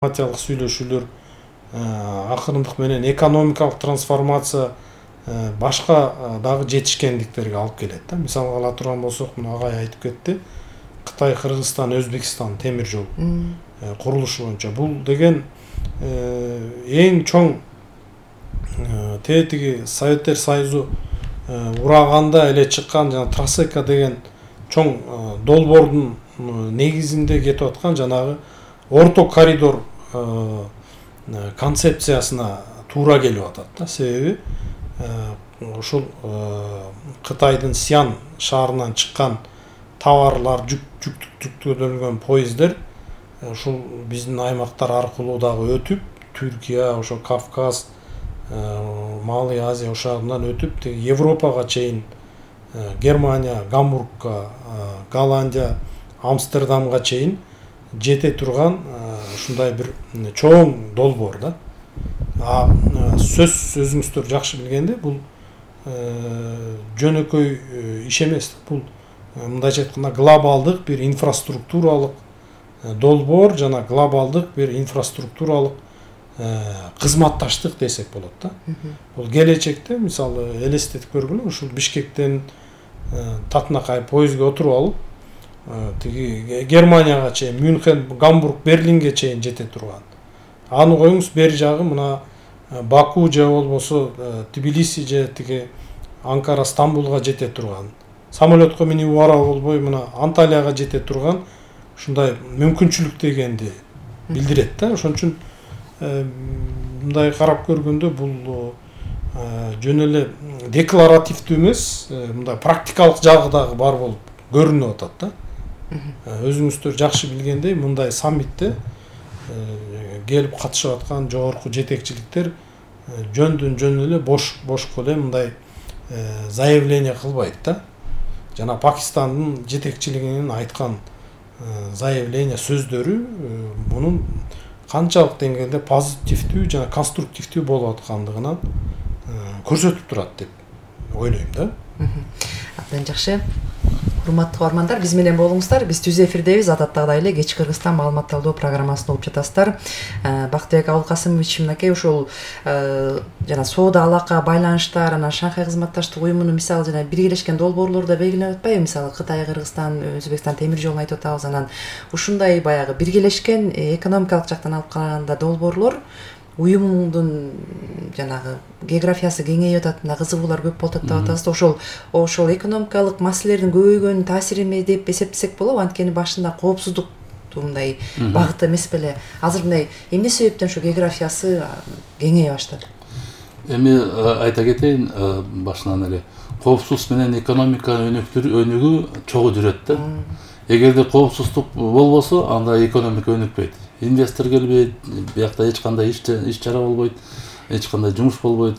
дипломатиялык сүйлөшүүлөр акырындык менен экономикалык трансформация башка дагы жетишкендиктерге алып келет да. Мисалга ала турган болсок, мына агай айтып кетти. Кытай, Кыргызстан, Өзбекстан темир жол курулушу боюнча бул деген эң чоң тетиги Советтер Союзу ураганда эле чыккан жана Трасека деген чоң долбоордун негизинде кетип аткан жанагы орто коридор концепциясына туура келип атат да. Себеби ушул Кытайдын Сиан шаарынан чыккан товарлар, жүктөлгөн поездер ушул биздин аймактар аркылуу дагы өтүп, Түркия, ошо Кавказ, Малый Азия ошагынан өтүп, Европага чейин, Германия, Гамбургка, Голландия, Амстердамга чейин жете турган ушундай бир чоң долбоор да. Өзүңүздөр жакшы билгендей, бул жөнөкөй иш эмес. Бул мындайча айтканда глобалдык бир инфраструктуралык долбоор жана глобалдык бир инфраструктуралык кызматташтык десек болот да. Бул келечекте мисалы элестетип көргүлө, ушул Бишкектен Татнакай поездге отуруп алып, тиги Германияга чейин, Мюнхен, Гамбург, Берлинге чейин жете турган. Аны коюңуз, бери жагы мына Баку же болбосо Тбилиси же тиги Анкара, Стамбулга жете турган. Самолетко минип бара болбой мына Анталияга жете турган ушундай мүмкүнчүлүк дегенди билдирет да. Ошон үчүн мындай карап көргөндө бул жөн эле декларативдүү эмес, мындай практикалык жагы дагы бар болуп көрүнүп атат да. Өзүңүздөр жакшы билгендей, мындай саммитте келип катышып аткан жогорку жетекчиликтер жөн эле бошко эле мындай заявление кылбайт да. Жана Пакистандын жетекчилигинин айткан заявление сөздөрү мунун канчалык деңгээлде позитивдүү жана конструктивдүү болуп аткандыгынан көрсөтүп турат деп ойлойм да. Абдан жакшы. Урматтуу угармандар, биз менен болуңуздар. Биз түз эфирдебиз. Адаттагыдай эле кечки Кыргызстан маалымат талдоо программасын угуп жатасыздар. Бактыбек Абылкасымович мынакей ушул жана соода алака байланыштар, анан Шанхай кызматташтык уюмунун мисалы жана биргелешкен долбоорлорду белгилеп атпайбы? Мисалы Кытай, Кыргызстан, Өзбекстан темир жолун айтып атабыз. Анан ушундай баягы биргелешкен экономикалык жактан алып караганда долбоорлор уюмуңдун жанагы географиясы кеңейип атат, мына кызыгуулар көп болуп атат деп атабыз. Ошол экономикалык маселелердин көбөйгөнүнүн таасириме деп эсептесек болобу? Анткени башында коопсуздукту мындай багыты эмес беле. Азыр мындай эмне себептен ошо географиясы кеңейе баштады? Эми айта кетейин, башынан эле коопсуздук менен экономика өнүгүү чогуу жүрөт да. Эгерде коопсуздук болбосо, анда экономика өнүкпөйт. Инвестор келбейт, биякта эч кандай иш чара болбойт, эч кандай жумуш болбойт.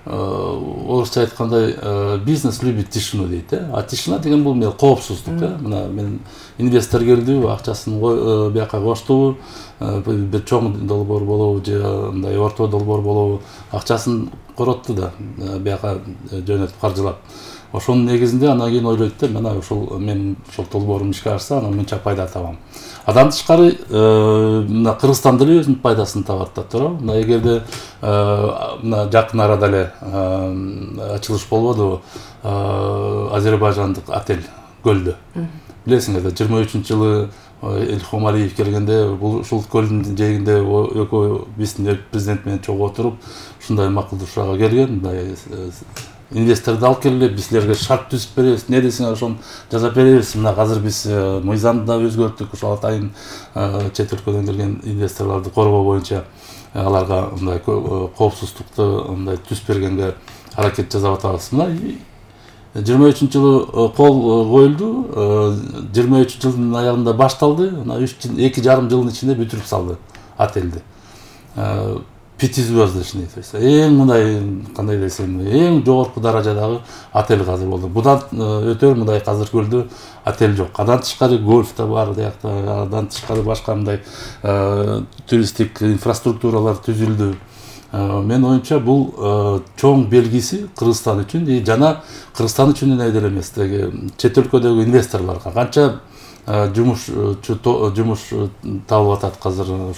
Орусча айткандай бизнес любит тишину дейт да. А тишина деген бул коопсуздук да. Мына мен инвестор келди, акчасын бияка коштубу, бир чоң долбоор болобу же мындай орто долбоор болобу, акчасын коротту да, бияка жөнөтүп каржылап. Ошонун негизинде анан кийин ойлойт да, мына ушул мен ушул долбоорум ишке ашса, анан мынча пайда табам. Адан тышкары мына Кыргызстан деле өзүнүн пайдасын табат да туурабы? Мына эгерде мына жакын арада эле ачылыш болбодубу Азербайжандык отель көлдө. Билесиңер да, 23-жылы Илхом Алиев келгенде бул ушул көлдүн жээгинде экөө биздин президент менен чогуу отуруп ушундай макулдашууга келген. Мындай инвесторду алып келгиле, биз силерге шарт түзүп беребиз, не десеңер ошону жасап беребиз. Мына азыр биз мыйзамды да өзгөрттүк, ошол атайын чет өлкөдөн келген инвесторлорду коргоо боюнча аларга мындай коопсуздукту мындай түзүп бергенге аракет жасап атабыз. Мына 23-жылы кол коюлду, 23-жылдын аягында башталды, мына 2,5 жылдын ичинде бүтүрүп салды отельди. 5-звездочный, то есть эң мындай кандай десем, эң жогорку даражадагы отель азыр болду. Будан өтөр мындай азыр көлдө отель жок. Адан тышкары гольф да бар, адан тышкары башка мындай туристтик инфраструктуралар түзүлдү. Мен оюмча бул чоң белгиси Кыргызстан үчүн жана Кыргызстан үчүн эле эмес, чет өлкөдөгү инвесторлорго канча жумуш табылып атат азыр ошол